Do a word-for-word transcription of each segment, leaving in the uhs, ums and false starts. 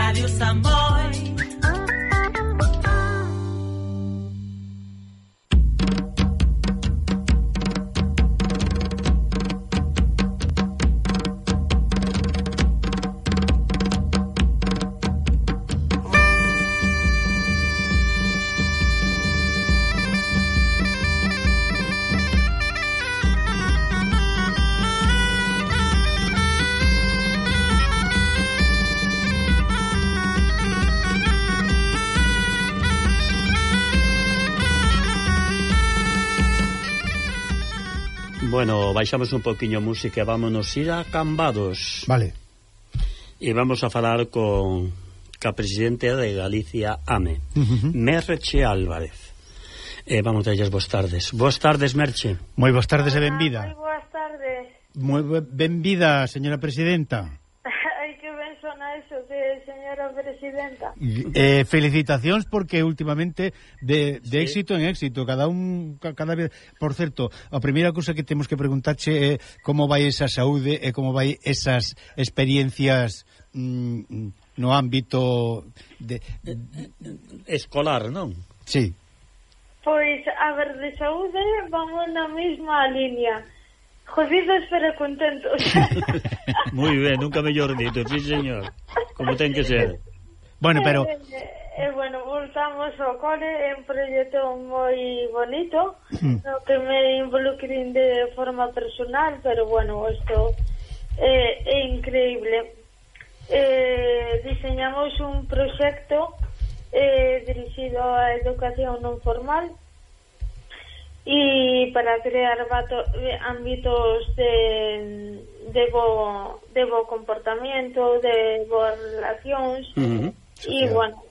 Radio Samboy. Bueno, baixamos un poquinho a música e vámonos ir a Cambados. Vale. E vamos a falar con a presidente de Galicia, A M E, uh-huh. Merche Álvarez. E vamos a ellas boas tardes. Boas tardes, Merche. Moi boas tardes e benvida. Moi boas tardes. Moi benvida, señora presidenta. Ai, que ben sona eso de señora presidenta. Eh, felicitacións porque últimamente de, de sí. éxito en éxito, cada un cada vez. Por certo, a primeira cousa que temos que preguntarche é como vai esa saúde e como vai esas experiencias mm, no ámbito de, de escolar, non? Sí. Pois, a ver, de saúde vamos na mesma línea. Jodidos pero contentos. Moi ben, nunca mellor dito, sí señor. Como ten que ser. Bueno, pero eh, eh, bueno, voltamos ao cole, é un proxecto moi bonito, mm. no que me involucrín de forma personal, pero bueno, isto eh, é increíble. Eh, diseñamos un proxecto eh, dirixido á educación non formal e para crear vato, ámbitos de, de, bo, de bo comportamento, de boas relacións. Uh-huh. E, bueno,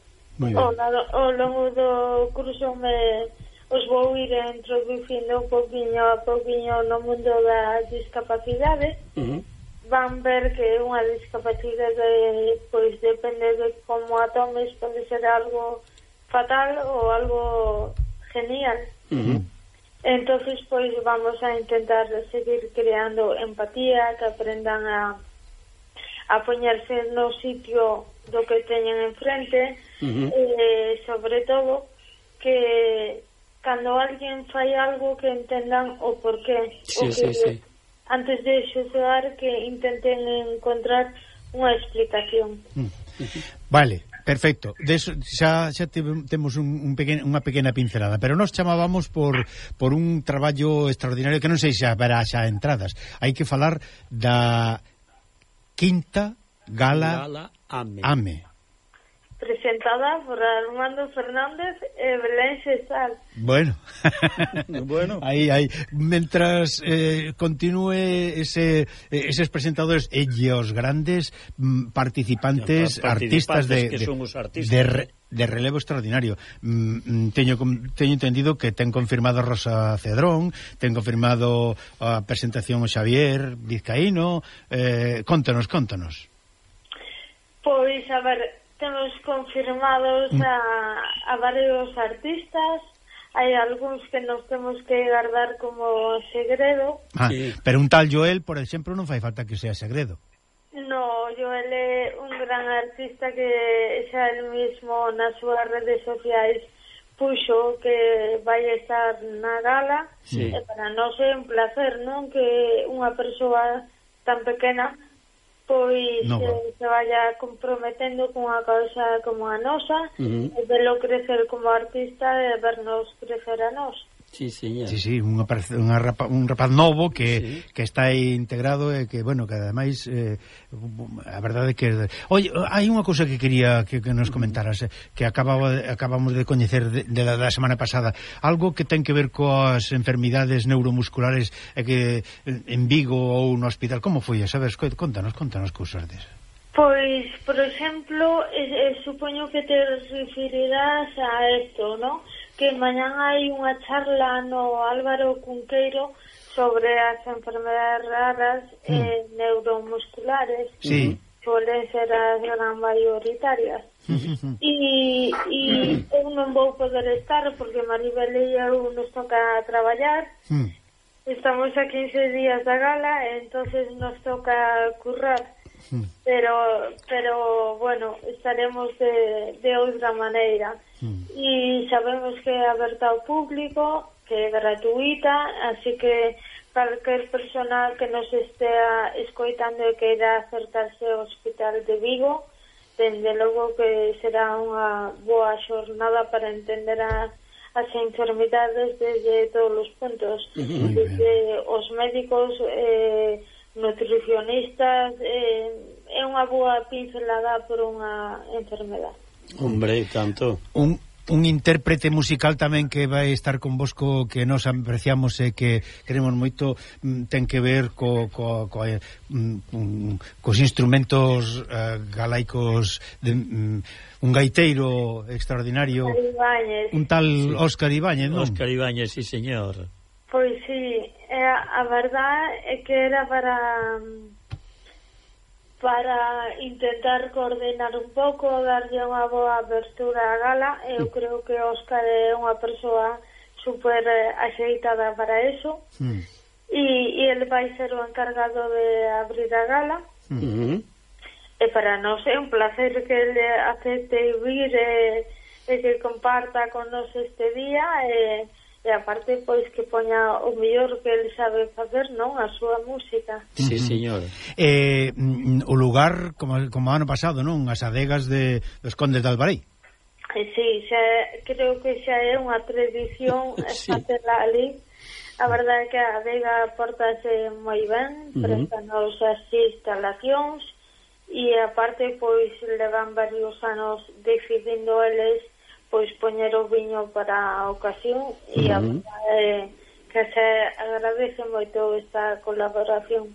ao, ao longo do curso me os vou ir introducindo un poquinho a poquinho no mundo da discapacidade. Uh-huh. Van ver que unha discapacidade, pois, depende de como a tomes, pode ser algo fatal ou algo genial. Uh-huh. Entonces, pois, vamos a intentar seguir creando empatía, que aprendan a a poñerse no sitio do que teñen enfrente, uh-huh. eh, sobre todo que cando alguén fai algo que entendan o porqué, sí, o que sí, sí. antes de xulgar que intenten encontrar unha explicación. Uh-huh. Vale. Perfecto, de eso, xa, xa temos un, un pequeno, unha pequena pincelada, pero nos chamábamos por, por un traballo extraordinario que non sei xa verá xa entradas. Hai que falar da quinta gala, gala A M E. A M E. Presentada por Armando Fernández e Belén Cesar. Bueno, bueno. Aí, aí, mentras eh, continúe ese, eses presentadores e os grandes mm, participantes, participantes artistas de, que son os artistas de, de, de relevo extraordinario. Mm, teño, teño entendido que ten confirmado Rosa Cedrón, ten confirmado a presentación o Xavier Vizcaíno. eh, contanos, contanos. Pois, a ver, temos confirmados a, a varios artistas. Hai algúns que nos temos que guardar como segredo. Ah, sí. Pero un tal Joel, por exemplo, non fai falta que sea segredo. No, Joel é un gran artista que xa el mismo nas súas redes sociais puxo que vai estar na gala. Sí. E para nós é un placer, non? Que unha persoa tan pequena pois no, eh, se vaya comprometendo con unha causa como a nosa, uh-huh. e velo crecer como artista e vernos crecer a nós. Sí, señor. Sí, sí, unha, unha rapa, un rapaz novo que, sí. que está aí integrado e que, bueno, que ademais eh, a verdade que... Oye, hai unha cousa que quería que, que nos comentaras, eh, que acababa, acabamos de coñecer de, de la, da semana pasada, algo que ten que ver coas enfermidades neuromusculares e que en Vigo ou no hospital, como foi? Sabes, contanos, contanos cousas desas. Pois, por exemplo, eh, eh, supoño que te referirás a isto, ¿no? Que mañán hai unha charla no Álvaro Cunqueiro sobre as enfermedades raras mm. eh, neuromusculares. Sí. Poden ser as gran maioritarias. E, e eu non vou poder estar porque Maribel e eu nos toca traballar. Mm. Estamos a quince días da gala e entonces nos toca currar. mm. pero pero bueno, estaremos de, de outra maneira. Mm. E sabemos que é aberta ao público, que é gratuita, así que calquer persona que nos estea escoitando e que irá acercarse ao Hospital de Vigo, dende logo que será unha boa xornada para entender a as enfermidades desde todos os puntos, uh-huh. desde os médicos, eh, nutricionistas, eh, é unha boa pincelada por unha enfermedade. Hombre, tanto. Un, un intérprete musical tamén que vai estar convosco, que nos apreciamos e que queremos moito, ten que ver co, co, co, um, cos instrumentos uh, galaicos de, um, un gaiteiro extraordinario, un tal sí. Óscar Ibáñez, non? Óscar Ibáñez, sí, señor. Pois sí, a, a verdad é que era para para intentar coordinar un pouco, darlle unha boa abertura á gala. Eu mm. creo que Óscar é unha persoa super axeitada para eso, mm. e, e ele vai ser o encargado de abrir a gala. Mm-hmm. E para nós é un placer que ele acepte vir e, e que comparta con nos este día, e e aparte pois que poña o mellor que ele sabe facer, non? A súa música. Sí, señor. Eh, o lugar, como, como ano pasado, non? As adegas de, dos Condes de Albarei. Eh, sí, xa, creo que xa é unha tradición sí. Facela ali. A verdade é que a adega portase moi ben, uh-huh. prestanos as instalacións, e aparte pois levan varios anos decidindo eles pois poñer o viño para a ocasión, uh-huh. e a verdade é que se agradece moito esta colaboración.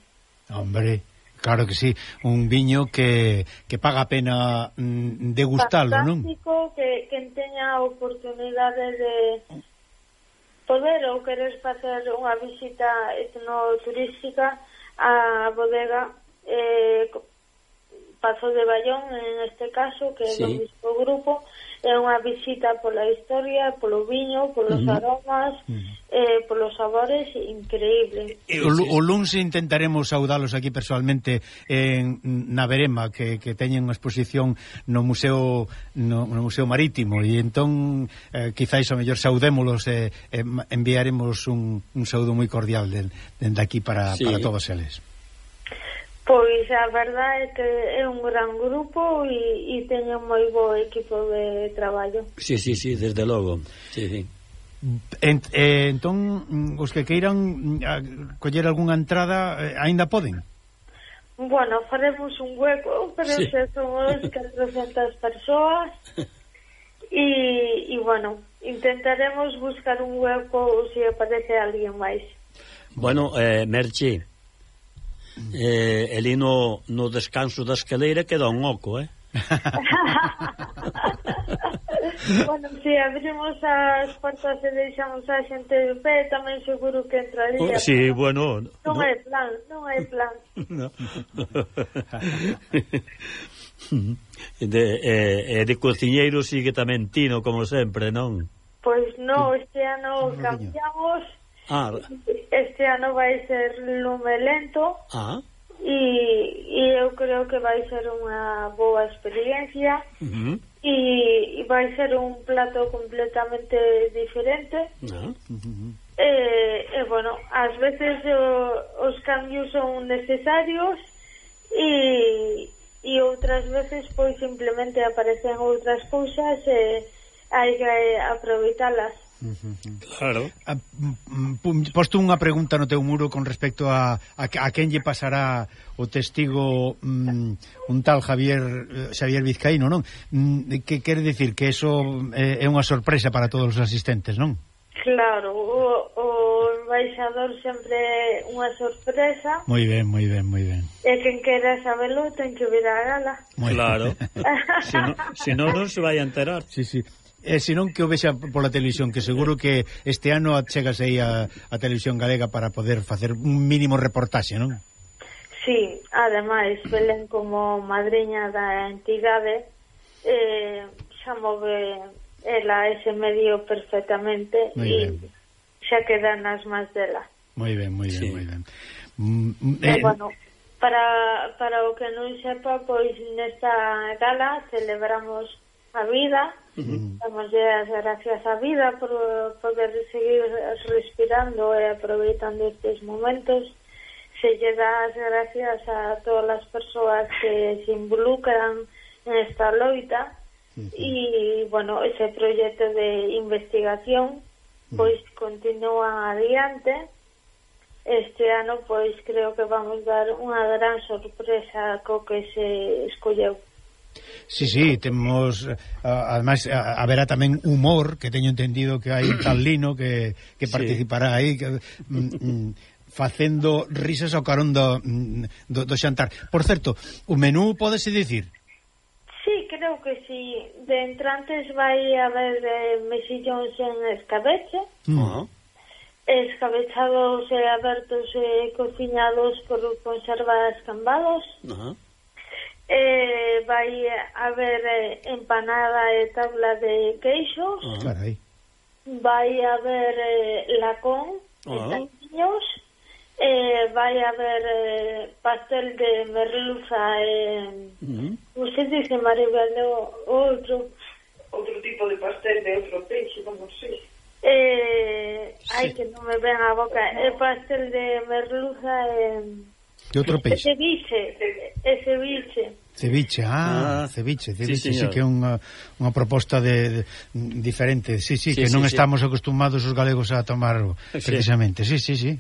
Hombre, claro que sí, un viño que, que paga a pena mm, degustalo, non? Fantástico, que quen teña a oportunidade de poder ou querer facer unha visita etnoturística á bodega eh, Pazo de Bayón, en este caso, que é sí. do mismo grupo. É unha visita pola historia, polo viño, polos uh-huh. aromas, uh-huh. eh, polos sabores, increíble. O, o luns intentaremos saudalos aquí personalmente en, na Verema, que, que teñen unha exposición no Museo no, no Museo Marítimo, e entón eh, quizáis o mellor saudémolos e eh, eh, enviaremos un, un saúdo moi cordial dende de aquí para, sí. para todos eles. Pois a verdade é que é un gran grupo e, e teño moi bo equipo de traballo. Sí, sí, sí, desde logo. Sí, sí. En, eh, entón, os que queiran a, coller algunha entrada, eh, aínda poden? Bueno, faremos un hueco, pero sí. se somos catrocentas persoas e, e bueno, intentaremos buscar un hueco se aparece alguén máis. Bueno, eh, Merche, Eh, ali no, no descanso da escaleira queda un oco, eh? Bueno, se si abrimos as portas e deixamos a xente de pé, tamén seguro que entraría. Oh, sí, bueno, non no. é plan, non é plan. No. de, eh, de cociñeiro sigue tamén Tino, como sempre, non? Pois non, este ano cambiamos. Ah. Este ano vai ser lume lento. Ah. E, e eu creo que vai ser unha boa experiencia. Uh-huh. e, e vai ser un plato completamente diferente. Uh-huh. E, e bueno, ás veces o, os cambios son necesarios e, e outras veces pois simplemente aparecen outras cousas e hai que aproveitalas. Claro. Posto unha pregunta no teu muro con respecto a, a, a quen lle pasará o testigo um, un tal Javier Xavier Vizcaíno, non? Que quere dicir que eso é, é unha sorpresa para todos os asistentes, non? Claro, o, o embaixador sempre é unha sorpresa. Moi ben, moi ben, moi ben. E quen quera sabelo ten que vir a gala. Muy claro. Se non si no, non se vai a enterar. Sí, sí. E senón que o vexa pola televisión, que seguro que este ano chegas aí a, a televisión galega para poder facer un mínimo reportaxe, non? Sí, ademais, Belén como madriña da entidade eh, xa move ela ese medio perfectamente e xa queda nas más dela. Moi ben, moi ben, sí. moi ben. Mm, eh, e, bueno, para, para o que non sepa, pois nesta gala celebramos a vida, uh-huh. damos as gracias á vida por poder seguir respirando e aproveitando estes momentos. Se lle dá as gracias a todas as persoas que se involucran en esta loita e, uh-huh. bueno, ese proxecto de investigación pois uh-huh. continúa adiante. Este ano pois creo que vamos dar unha gran sorpresa co que se escolleu. Sí, sí, temos ademais haberá tamén humor, que teño entendido que hai un tal Lino que, que participará sí. aí que, mm, facendo risas ao carón do, do, do xantar. Por certo, o menú pódese dicir? Sí, creo que sí. De entrantes vai haber eh, mesillóns en escabeche, uh-huh. escabechados e abertos e cociñados por conservas cambados. Uh-huh. Eh, vai haber eh, empanada e tabla de queixos. Uh -huh. Vai haber eh, lacón uh -huh. e taquiños. Eh, vai haber eh, pastel de merluza e uh -huh. non se dice Maribel, outro outro tipo de pastel de outro peixe, non sei. Eh, sí. Ai, que non me ven a boca. É eh, pastel de merluza e de outro peixe. E ceviche, e ceviche. Ceviche, ah, ah ceviche, ceviche, sí, sí que é unha, unha proposta de, de diferente, sí, sí, sí que sí, non sí. estamos acostumados os galegos a tomar precisamente, sí, sí, sí.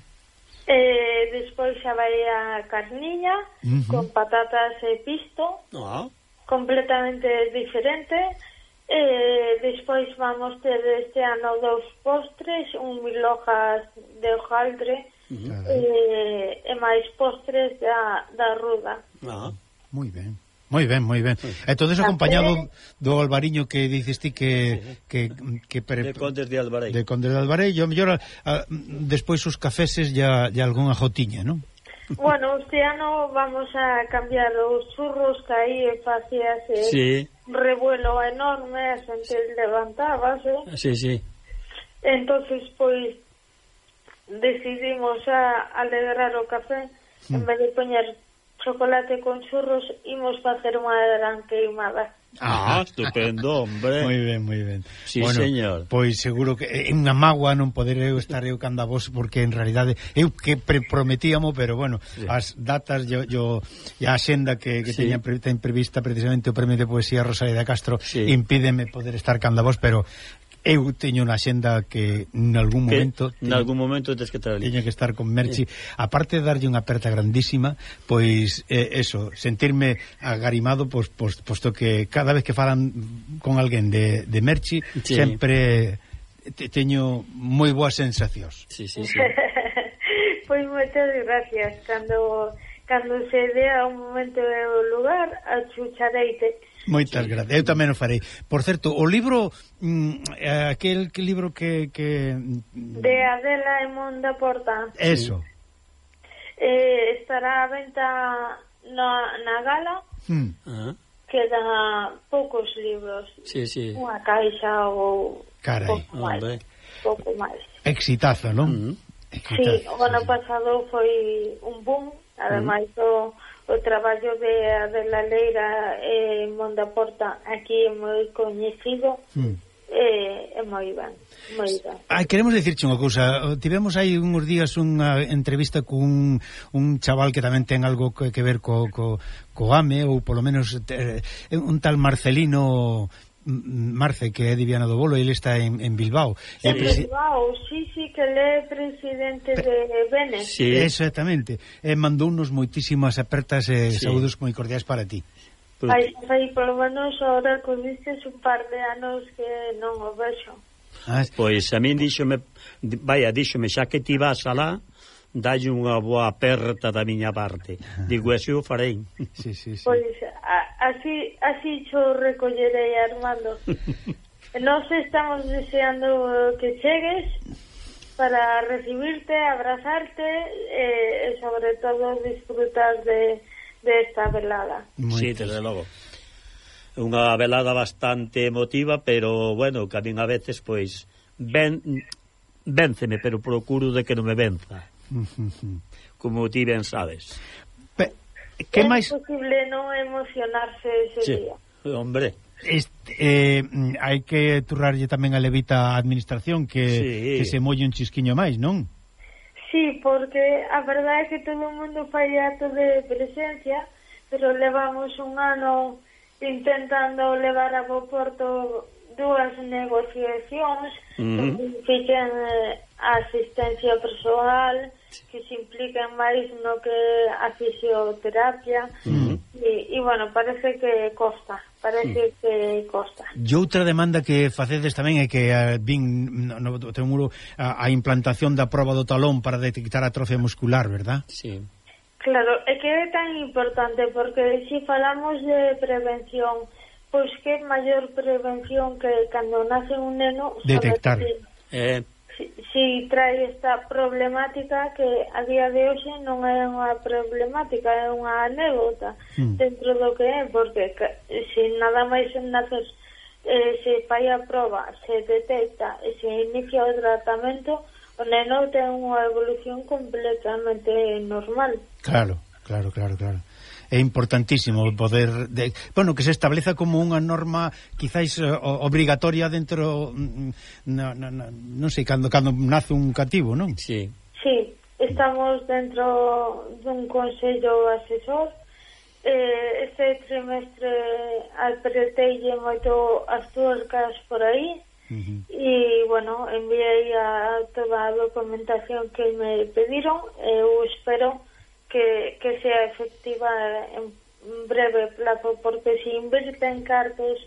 Eh, despois xa vai a carniña uh -huh. con patatas e pisto, ah. completamente diferente. Eh, despois vamos ter este ano dos postres, un mil hojas de hojaldre uh -huh. eh, e máis postres da, da ruda. Ah, moi ben. Moi ben, moi ben. E todo eso acompañado do albariño que dices ti que que que pre... de Condes de Albarei. De Condes de Albarei, yo mellor despois os cafeses ya ya algunha jotiña, ¿no? Bueno, este ano vamos a cambiar os churros que aí facíase sí. revuelo enorme, a xente levantábase. Sí, sí. Entonces, pois decidimos a alegrar o café mm. en vez de poñer chocolate con churros, imos facer unha gran queimada. Ah, estupendo, hombre. Moi ben, moi ben. Sí, bueno, señor. Pois seguro que é unha mágoa non poder eu estar eu canda vos, porque en realidade eu que pre prometíamos, pero bueno, sí. as datas yo, yo e a xenda que, que sí. teña pre, ten prevista precisamente o Premio de Poesía Rosalía de Castro sí. impídeme poder estar canda vos, pero eu teño unha xenda que en algún momento en algún momento tens que estar ali. Teño que estar con Merchi, sí. aparte de darlle unha aperta grandísima, pois eh, eso, sentirme agarimado pois, pois, posto que cada vez que falan con alguén de, de Merchi, sí. sempre te, teño moi boas sensacións. Sí, sí, sí. Pois moitas gracias. Cando cando se dea un momento e o lugar, achuchareite. Moitas sí. gracias, eu tamén o farei. Por certo, o libro mm, aquel que libro que, que... de Adela e Monda Porta. Eso. Eh, estará a venta na, na gala. Hmm. Uh-huh. Quedan poucos libros. Sí, sí. Unha caixa ou Carai. pouco máis. Pouco máis. Exitazo, non? Uh-huh. Exitazo, sí, o ano sí. pasado foi un boom, ademais uh-huh. o o traballo de Adela Leira e Monda Porta aquí é moi coñecido mm. e é moi ben, moi ben. Ai, queremos dicirche unha cousa, tivemos aí uns días unha entrevista con un chaval que tamén ten algo que, que ver co, co, co A M E, ou polo menos eh, un tal Marcelino Marce, que é de Viana do Bolo, ele está en, en Bilbao. En presi... Bilbao, sí, sí, que ele é presidente Pe... de Benes. Sí. Exactamente. E mandounos moitísimas apertas e sí. saúdos moi cordiais para ti. Ai, aí, polo menos, ahora convistes un par de anos que non o vexo. Ah, pois a min díxome, vaya, díxome, xa que ti vas alá, dalle unha boa aperta da miña parte. Digo, así o farei. Sí, sí, sí. Pois a, así así xo recollerei, Armando. Nos estamos deseando que chegues para recibirte, abrazarte e, e sobre todo disfrutar de, de esta velada. Sí, desde logo. Unha velada bastante emotiva, pero bueno, que a min a veces pois ven, vénceme, pero procuro de que non me venza. Como ti ben sabes. Pe Que é máis... imposible non emocionarse ese sí. día. Hombre, Este, eh, hai que turrarlle tamén a levita a administración que, sí. que se molle un chisquiño máis, non? Sí, porque a verdade é que todo o mundo fai acto de presencia, pero levamos un ano intentando levar a bo porto dúas negociacións uh-huh. que impliquen eh, a asistencia persoal, que se impliquen máis no que a fisioterapia, uh-huh. e, e, bueno, parece que costa, parece uh-huh. que costa. E outra demanda que facedes tamén é que uh, vin no, no teu muro a, a implantación da proba do talón para detectar atrofia muscular, verdad? Sí. Claro, é que é tan importante porque se falamos de prevención, pois que maior prevención que cando nace un neno detectar si, eh. si, si trae esta problemática que a día de hoxe non é unha problemática, é unha anécdota mm. dentro do que é, porque se nada máis naces eh, se fai a proba, se detecta e se inicia o tratamento, o neno ten unha evolución completamente normal. Claro, claro, claro, claro. É importantísimo poder de, bueno, que se estableza como unha norma quizáis uh, obrigatoria dentro no, no, no, non sei, cando, cando nace un cativo, non? Sí. Sí, estamos dentro dun consello asesor. Eh, este trimestre apreteille moito as tuercas por aí. Uh-huh. E, bueno, enviei a toda a documentación que me pediron. Eu espero que, que sea efectiva en breve plazo, porque se inverten cartos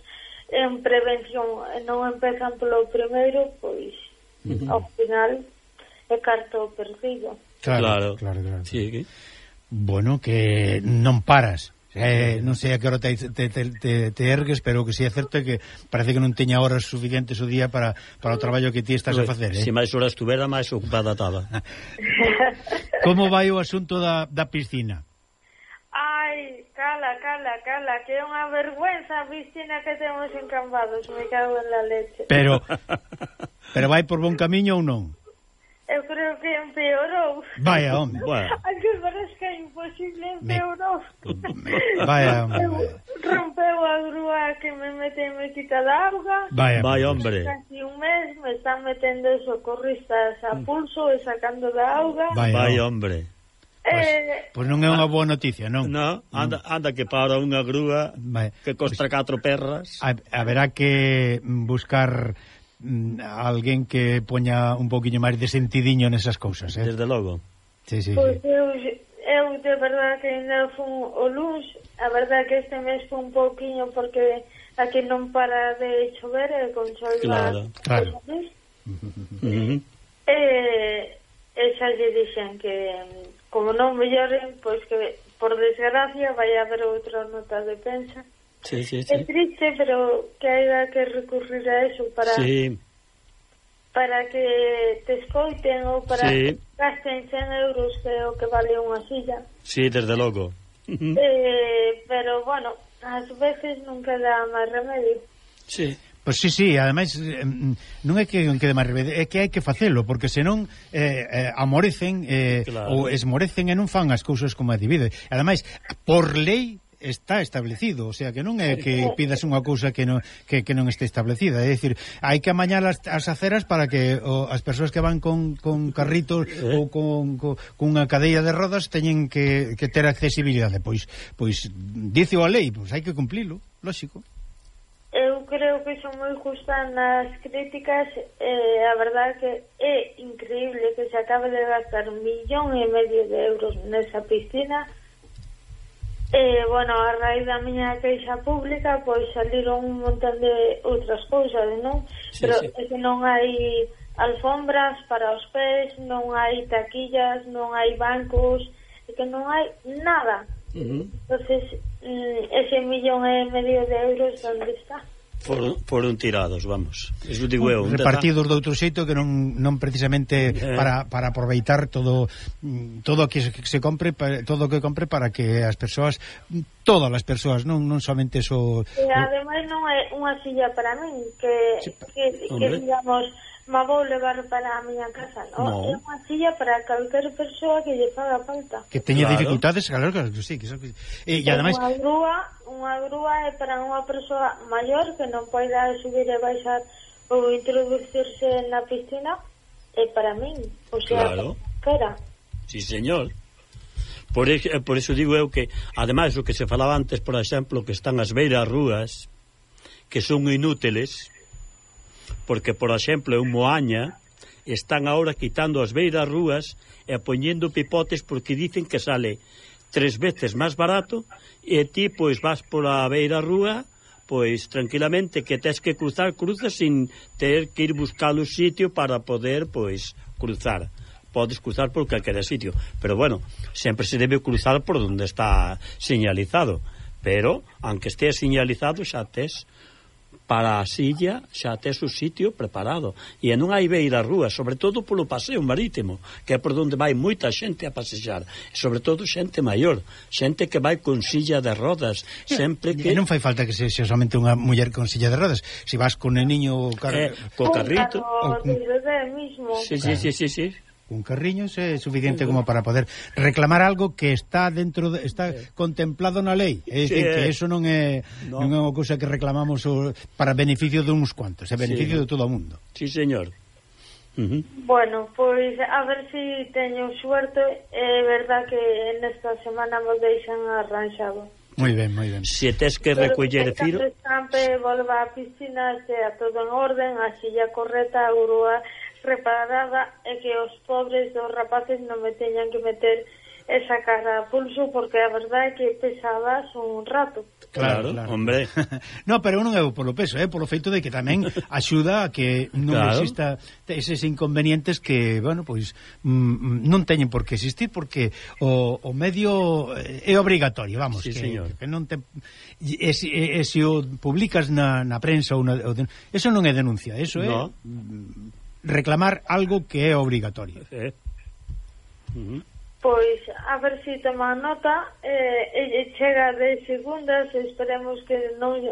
en prevención e non empezan polo primeiro, pois uh-huh. ao final é carto perdido. Claro, claro, claro. Sí. Bueno, que non paras. Eh, non sei a que hora te, te, te, te ergues, pero que si é certo que parece que non teña horas suficientes o día para, para o traballo que ti estás a facer, eh? Se máis horas tuvera, máis ocupada estaba. Como vai o asunto da, da piscina? Ai, cala, cala, cala, que é unha vergüenza a piscina que temos en Cambados, me cago en la leche. Pero, pero vai por bon camiño ou non? Eu creo que empeorou. Vaya, home. Bueno. Aunque parezca imposible, empeorou. Vaya, home. Rompeu a grúa que me mete e me quita da auga. Vaya, vaya, hombre. Casi un mes me están metendo socorristas a pulso e sacando da auga. Vaya, vaya hombre. Pois Eh, pues non é unha boa noticia, non? No, anda, anda que para unha grúa Vaya. que costa pues, catro perras. Haberá que buscar alguén que poña un poquinho máis de sentidiño nesas cousas, eh? Desde logo. Sí, sí, Pois sí. eu, eu de verdade que ainda fun o luns, a verdade que este mes fun un pouquiño porque aquí non para de chover e con sol claro, claro. Uh-huh. E, e xa lle dixen que como non melloren, pois que por desgracia vai haber outra nota de pensa. Sí, sí, sí. É triste, pero que haya que recurrir a eso para sí. para que te escoiten ou para sí. que gasten cen euros que é o que vale unha silla. Sí, desde logo. eh, pero, bueno, ás veces non queda máis remedio. Sí. Pois sí, sí, ademais non é que non quede máis remedio, é que hai que facelo, porque senón eh, eh, amorecen eh, claro. ou esmorecen e non fan as cousas como a divide. Ademais, por lei está establecido, o sea, que non é que pidas unha cousa que non, que, que non este establecida, é dicir, hai que amañar as, as aceras para que o, as persoas que van con, con carritos eh? ou con, con, con unha cadeia de rodas teñen que, que ter accesibilidade, pois, pois dice a lei, pois hai que cumplilo, lógico. Eu creo que son moi justa nas críticas, eh, a verdade que é increíble que se acabe de gastar un millón e medio de euros nesa piscina. Eh, bueno, a raíz da miña queixa pública pois saliron un montón de outras cousas, non? Sí, pero sí. é que non hai alfombras para os pés, non hai taquillas, non hai bancos, é que non hai nada. Uh-huh. Entonces, mm, ese millón e medio de euros onde está? Foron, foron tirados, vamos. Eso digo eu. Repartidos de outro xeito que non non precisamente eh. para, para aproveitar todo todo o que se, que se compre, todo o que compre para que as persoas, todas as persoas, non non somente so. E ademais non é unha silla para min que sí, que, que digamos ma vou levar para a miña casa, non? No. É unha silla para calquer persoa que lle faga falta. Que teña Claro. dificultades, claro, claro que sí, que eso, que... E, e ademais Unha grúa, unha grúa é para unha persoa maior que non poida subir e baixar ou introducirse na piscina, é para min, o sea, Claro. para. Sí, señor. Por, ex, por eso digo eu que, ademais, o que se falaba antes, por exemplo, que están as beiras rúas, que son inútiles, porque, por exemplo, en Moaña, están ahora quitando as beiras rúas e poñendo pipotes porque dicen que sale tres veces máis barato e ti, pois, vas por a beira rúa, pois, tranquilamente, que tes que cruzar, cruzas sin ter que ir buscar o sitio para poder, pois, cruzar. Podes cruzar por calquera sitio, pero bueno, sempre se debe cruzar por donde está señalizado, pero aunque estea señalizado xa tes para a silla, xa tes o sitio preparado, e non hai beira rúa, sobre todo polo paseo marítimo, que é por donde vai moita xente a pasear, sobre todo xente maior, xente que vai con silla de rodas, sempre que... E non fai falta que sexa somente unha muller con silla de rodas, se vas con el niño car... eh, co carrito, O de bebé mismo. sí, sí, sí, sí, sí. un carriño é suficiente como para poder reclamar algo que está dentro de, está sí. contemplado na lei, é dicir, sí, que eso non é no. non é unha cousa que reclamamos o, para beneficio de uns cuantos, é beneficio sí. de todo o mundo. Sí, señor. Uh-huh. Bueno, pois a ver se si teño suerte, é verdad que nesta semana me deixan arranxado. Moi ben, moi ben. Se tes que recoller firo... Pero que estampe, volva á piscina, sea todo en orden, a silla correcta, a grúa reparada, e que os pobres dos rapaces non me teñan que meter esa cara a pulso, porque a verdade é que pesabas un rato. Claro, claro, hombre. No, pero non é polo peso, é polo feito de que tamén axuda a que non claro. exista eses inconvenientes que, bueno, pois mm, non teñen por que existir, porque o, o medio é obrigatorio, vamos, sí, que, señor. que non te e, se, e, se o publicas na, na prensa ou na, o de, eso non é denuncia, eso é no. reclamar algo que é obrigatorio. Eh. Uh-huh. Pois, a ver se si toma nota, eh, e chega de segundas, esperemos que non,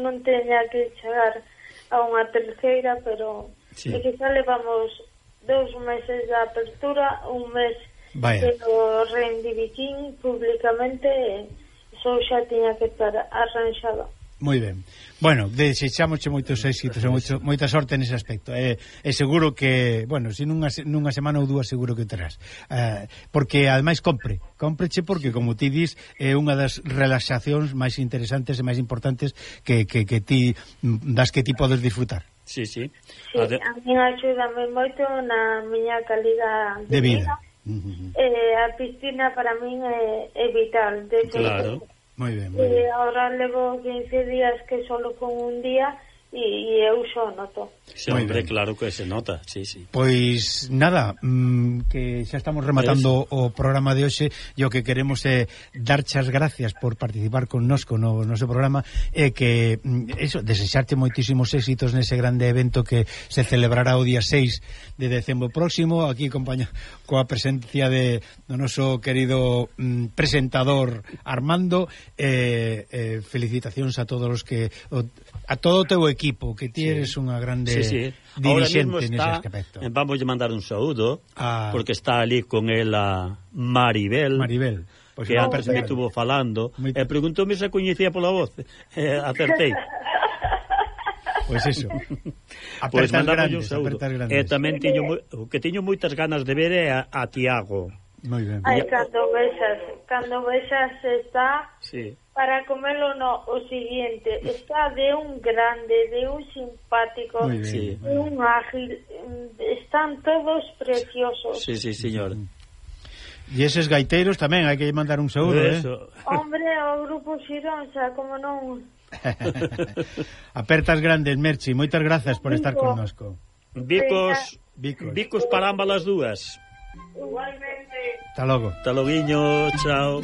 non teña que chegar a unha terceira, pero sí. é que xa levamos dous meses de apertura, un mes Vaya. que o reivindiquín públicamente, só xa tiña que estar arranxado. Moi ben. Bueno, desexámosche moitos éxitos e moito, moita sorte nese aspecto. É, é seguro que, bueno, se nunha, nunha semana ou dúas seguro que terás. Uh, porque, ademais, compre. Compreche porque, como ti dis, é unha das relaxacións máis interesantes e máis importantes que, que, que ti, das que ti podes disfrutar. Sí, sí. Sí, a, de... a mí axúdame moito na miña calidad de, de vida. vida. Uh-huh. Eh, a piscina para min é, é vital. De claro. Que, Moi ben, moi E ben. agora levo quince días que solo con un día e, e eu xo noto. Sí, hombre, claro que se nota, sí, sí. Pois nada, mmm, que xa estamos rematando o programa de hoxe, e o que queremos é darche as gracias por participar connosco no noso programa, e que, eso, desexarte moitísimos éxitos nese grande evento que se celebrará o día seis de decembro próximo, aquí acompaña coa presencia de do noso querido mm, presentador Armando, e eh, eh, felicitacións a todos os que o, a todo o teu equipo, que ti eres sí. unha grande sí, sí. dirixente nese aspecto. Vamos a mandar un saúdo, ah. porque está ali con ela Maribel, Maribel. Pues que antes me estuvo falando, e eh, preguntóme se coñecía pola voz, eh, acertei. Pois pues eso. Pois pues grandes, un saúdo. E tamén teño, o que teño moitas ganas de ver é a, a Tiago. Moi ben. Ai, cando vexas, cando vexas está sí. para comelo no, o siguiente, está de un grande, de un simpático, sí. de un ágil, están todos preciosos. Sí, sí, señor. E eses gaiteiros tamén hai que mandar un saúdo, eh? Hombre, o grupo Xironsa, como non... Apertas grandes, Merchi, moitas grazas por estar connosco. Bicos, bicos, bicos para ambas as dúas. Igualmente. Hasta logo. Hasta loguiño, chao.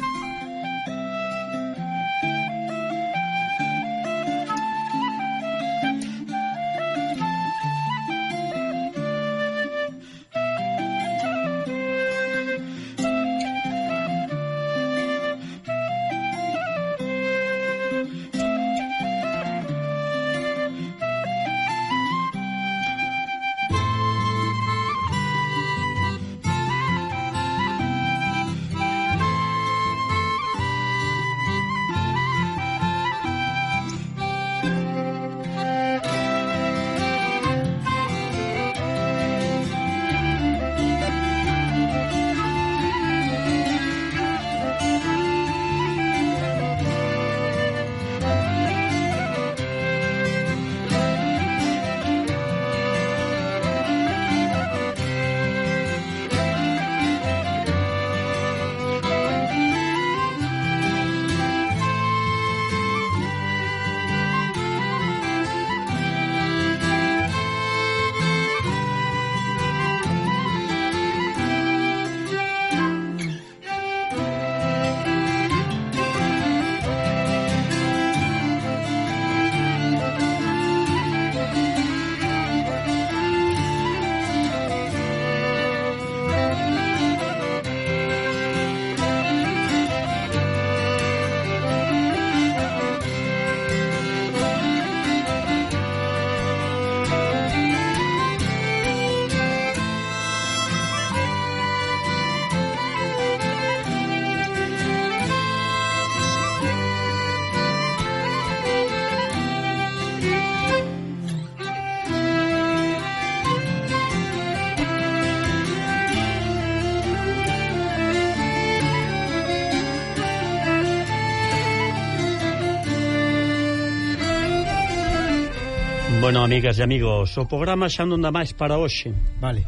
Bueno, amigas e amigos, o programa xa non dá máis para hoxe. Vale.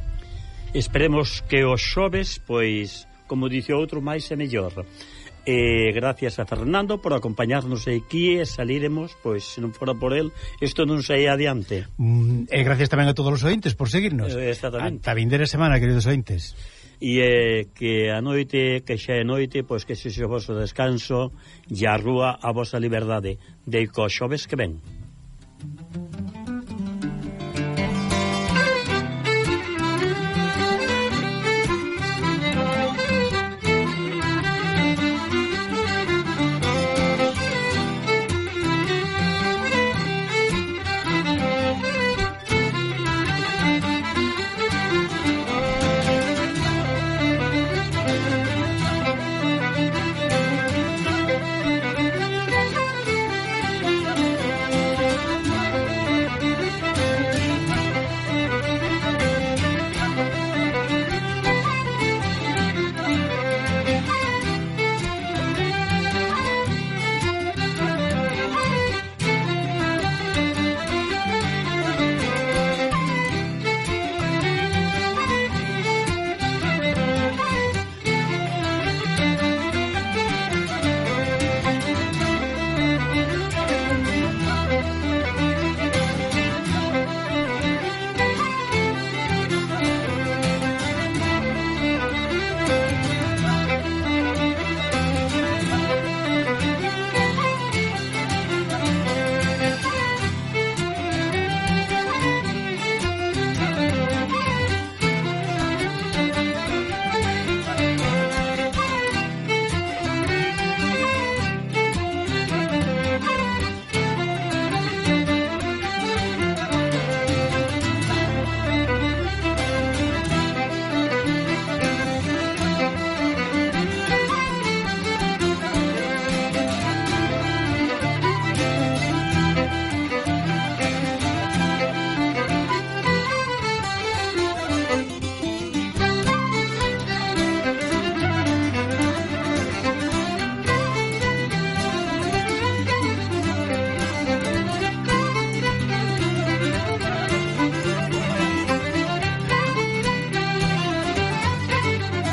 Esperemos que os xoves, pois, como dice outro, máis e mellor. E gracias a Fernando por acompañarnos aquí e saliremos, pois, se non fora por el, isto non saía adiante. Mm, e gracias tamén a todos os ointes por seguirnos. Eh, exactamente. Ata vindeira semana, queridos ointes. E eh, que a noite, que xa é noite, pois que se o vosso descanso e a rúa a vosa liberdade de cos xoves que ven.